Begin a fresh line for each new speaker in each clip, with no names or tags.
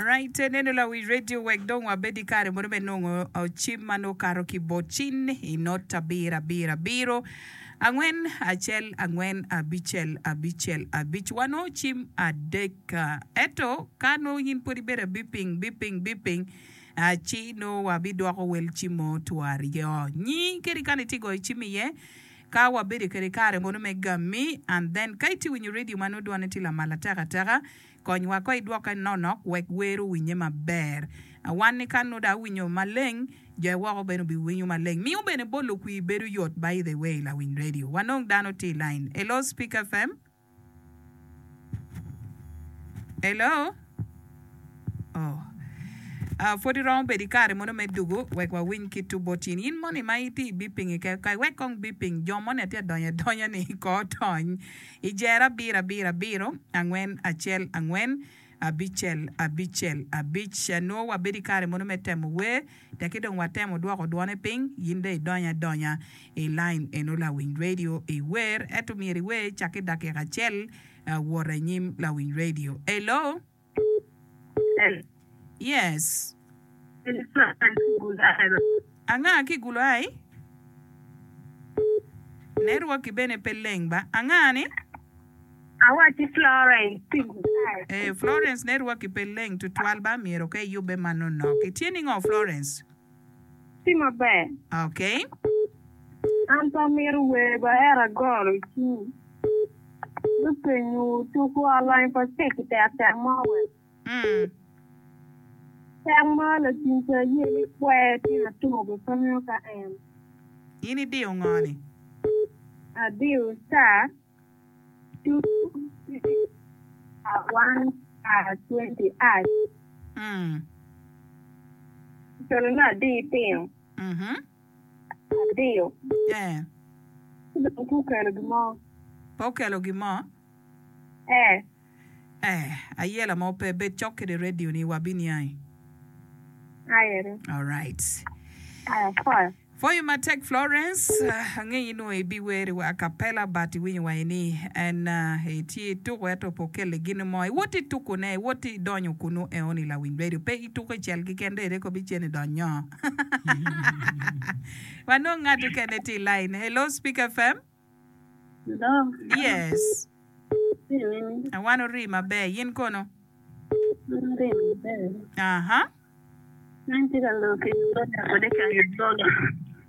Alright, neno lawic radio wek dong wabed i kare mono me nongo cim ma nongo kato ki bot cin i not abiro abiro abiro angwen acel angwen abicel abicel abic. Wanongo cim adek. Ento ka nongo in pwod ibedo abiping biping biping ci nongo wabidwoko wel cim mo twaryo. Nyi kadi kany itye goyo cim iye Ka wabedo kede kare mono me gami and then ka itye winyo radio ma nongo dwane tye lamal atek ateka, konywa ko idwoke nonok wek wer owinye maber. Wan ni ka nongo dong awinyo maleng, jo woko bene obiwinyo maleng. Miyo bene bolo kwir bedo yot by the way lawiny radio. Wanong dano tye i line. Hello Speak FM. Hello? Oh. Uh, pwod iromo bedo i kare mono me dugu wek wawiny kit tu bot in. In moni ma itye i biping i kai wek kong biping jo moni atye adonyo adonya ni ko tony i jero abiro abiro abiro angwen acel angwen abicel abicel abic. Nwo wabedo i kare mono me temo wer Teki dong watemo dwoko dwone piny, in dong idony adonya i lain eno lawiny radio i wer, ento myero iwer cakki dakika acel wot anyim lawiny radio. Hello. Yes. Anga ki gulo ai? Network bene pe leng ba. Anga ni?
Awacci Florence ki Gudae.
Eh, Florence network pe leng tutwal ba myero ka iyubbe manonok. Itye ningo Florence?
Tye maber.
Okay.
An pe amito wer ba ento agoro i cim me penyo tuku alany pa cek i tek tek mo wek.
Mm.
Tek ma lacim ca aye ni kwer tyen atur be pe angeyo ka en.
In idiyo ngo ni?
Adiyo star.
Pe okelo gin mo? Eh, ayela mo pe. Bed cok kede radio ni wabiniangi. Alright. Pwoyo matek Florence, angeyi nongo ibiwer wa acapella but iwinyo wa ni en itye ituko ento pe okelli gin mo. Iwot ituko ne, iwot idonyo kunu eoni lawiny radio pe ituko icel kiken dong ere kobi cen idonyo. Wanong ngat okene tye i line. Hello Speak FM.
Hello.
Yes. Wan ori maber, yin kono?
An ori maber.
Aha.
An tye ka lok ki Gloria kode ki Anyagoga.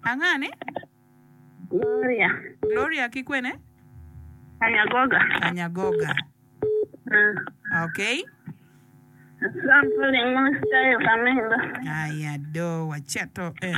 Anga ni?
Gloria.
Gloria ki kwene?
Anyagoga.
Anyagoga.
Ah.
Okay.
I'm calling mo style kamendo.
Aya do waceto en.